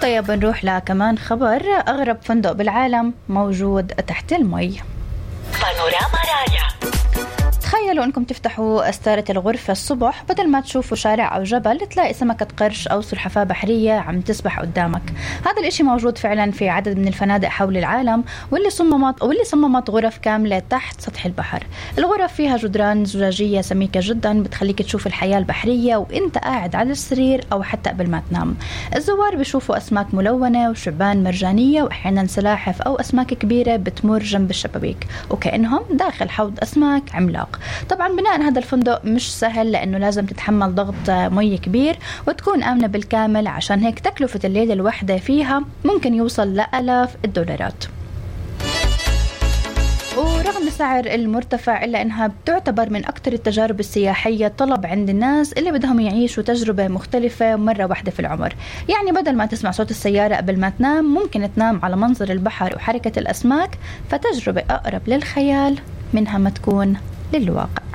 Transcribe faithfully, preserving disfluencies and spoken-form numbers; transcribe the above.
طيب بنروح لكمان خبر. أغرب فندق بالعالم موجود تحت المي. بانوراما رايا. تخيلوا أنكم تفتحوا أستارة الغرفة الصبح، بدل ما تشوفوا شارع أو جبل تلاقي سمكة قرش أو سلحفاة بحرية عم تسبح قدامك. هذا الإشي موجود فعلا في عدد من الفنادق حول العالم، واللي صممت واللي صممت غرف كاملة تحت سطح البحر. الغرف فيها جدران زجاجية سميكة جدا بتخليك تشوف الحياة البحرية وإنت قاعد على السرير أو حتى قبل ما تنام. الزوار بيشوفوا أسماك ملونة وشعبان مرجانية وأحيانا سلاحف أو أسماك كبيرة بتمر جنب الشبابيك وكأنهم داخل حوض أسماك عملاق. طبعا بناء هذا الفندق مش سهل لأنه لازم تتحمل ضغط مي كبير وتكون آمنة بالكامل، عشان هيك تكلفة الليلة الواحدة فيها ممكن يوصل لآلاف الدولارات. ورغم سعر المرتفع إلا أنها بتعتبر من أكثر التجارب السياحية طلب عند الناس اللي بدهم يعيشوا تجربة مختلفة مرة واحدة في العمر. يعني بدل ما تسمع صوت السيارة قبل ما تنام ممكن تنام على منظر البحر وحركة الأسماك، فتجربة أقرب للخيال منها ما تكون للواقع.